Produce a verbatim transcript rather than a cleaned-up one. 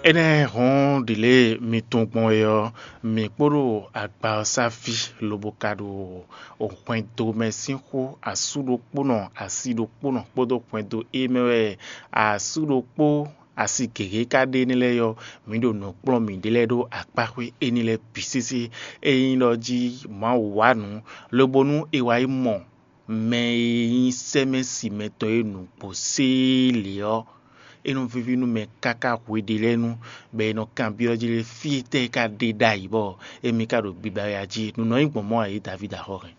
Énɛ́ hɔn ɖi lě mi tunwun gbɔn é ɔ́, mǐ kpó ɖo agba ɔ́ sá fí, lobo ka ɖo hwɛndo mɛ sín xó asú ɖokpónɔ, asi ɖokpónɔ kpódó hwɛndo é mɛ wɛ asú ɖokpó asi gěgé ka ɖe énɛ́ lɛ́ɛ ɔ́, mǐ ɖo nǔ kplɔ́n mǐɖée lɛ́ɛ ɖó akpáxwé énɛ́ lɛ́ɛ bǐ sésé. Ényí ɖɔ jí Mawu wa nǔ, lobo nú è wá yi mɔ mɛ e nyí sɛ́mɛ́si mɛtɔn e nǔgbó séé lě ɔ́, é nɔ víví nú mɛ káká hweɖé lɛ́ɛ nu, bɔ è nɔ kanbyɔ́ jí lé fí tɛ́ e ka ɖe ɖ'ayǐ bɔ émí ka ɖo biba wɛ a jí? Nǔ nɔ nyí gbɔn mɔ̌ ǎ é Davídi axɔ́ hɛn.